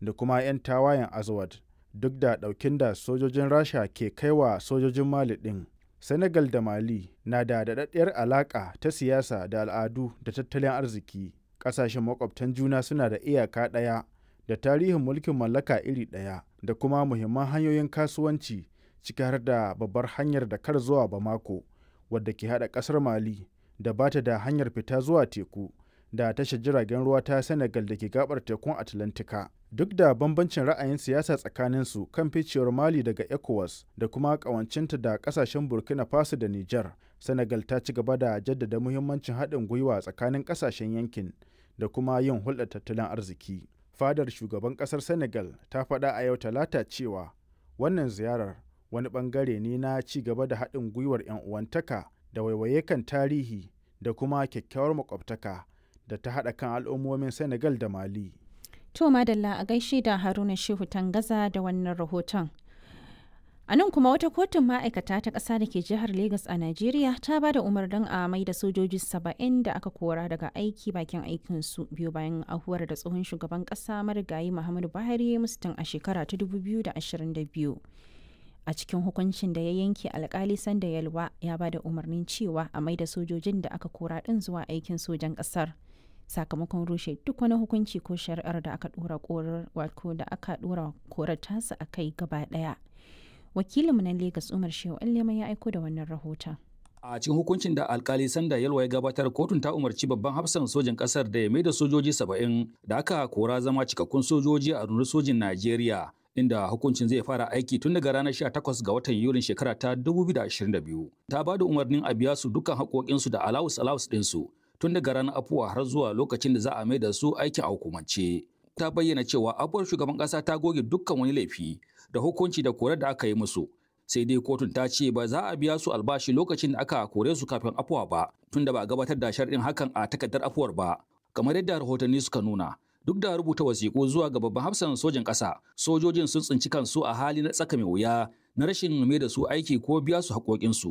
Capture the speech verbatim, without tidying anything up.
da kuma 'yan tawayen Azawad, duk da ɗaukin da sojojin Rasha ke kaiwa sojojin Mali ɗin. Senegal da Mali na da daɗaɗɗiyar alaƙa ta siyasa da al'adu da tattalin arziki. Ƙasashen makwabtan juna suna da iyaka ɗaya da tarihin mulkin mallaka iri ɗaya da kuma muhimman hanyoyin kasuwanci, ciki har da babbar hanyar Dakar zuwa Bamako, wadda ke haɗa ƙasar Mali da ba ta da hanyar fita zuwa teku da tashar jiragen ruwa ta Senegal da ke gabar tekun Atlantika. Duk da bambancin ra'ayin siyasa tsakaninsu kan ficewar Mali daga ECOWAS da kuma ƙawancinta da ƙasashen Burkina Faso da Nijar, Senegal ta ci gaba da jaddada muhimmancin haɗin gwiwa tsakanin ƙasashen yankin da kuma yin hulɗar tattalin arziki. Fadar shugaban ƙasar Senegal ta faɗa a yau Talata cewa wannan ziyarar wani ɓangare ne na ci gaba da haɗin gwiwar 'yan uwantaka da waiwaye kan tarihi da kuma kyakkyawar makwabtaka da ta haɗa kan al'ummomin Senegal da Mali. To madalla, a gaishe da Haruna Shehu Tangaza da wannan rahoton. A nan kuma, wata kotun ma'aikata ta ƙasa da ke jihar Legas a Najeriya ta ba da umarnin a mai da sojoji saba'in da aka kora daga aiki bakin aikinsu, biyu bayan ahuwar da tsohon shugaban ƙasa marigayi Muhammadu Buhari mustin a shekara ta dubu biyu da ashirin da biyu. A cikin hukuncin da ya yanke, alkali Sanda Yalwa ya ba da umarnin cewa a mai da sojojin da aka kora ɗin zuwa aikin sojan ƙasar, sakamakon rushe duk wani hukunci ko shari'ar da aka dora korar, wato da aka dora korar tasa a kai gaba daya. Wakilinmu na Lagos, Umar Shehu Allema, ya aiko da wannan rahoton. A cikin hukuncin da alkali Sanda Yalwa ya gabatar, kotun ta umarci babban hafsan sojin kasar da ya maida sojoji saba'in da aka kora zama cikakkun sojoji a rundunar sojin Najeriya, inda hukuncin zai fara aiki tun daga ranar sha takwas ga watan Yulin shekara ta dubu biyu da ashirin da biyu. Ta ba da umarnin a biya su dukkan haƙoƙinsu da alawus alawus ɗinsu tun daga ranar afuwa har zuwa lokacin da za a mai da su aikin a hukumance. Ta bayyana cewa afuwar shugaban ƙasa ta goge dukkan wani laifi da hukunci da korar da aka yi musu. Sai dai kotun ta ce ba za a biya su albashi lokacin da aka kore su kafin afuwa ba, tunda ba a gabatar da sharɗin hakan a takardar afuwar ba. Kamar yadda rahotanni suka nuna, duk da rubuta wasiƙu zuwa ga babban hafsan sojan ƙasa, sojojin sun tsinci kansu a hali na tsaka mai wuya na rashin mai da su aiki ko biya su haƙoƙinsu.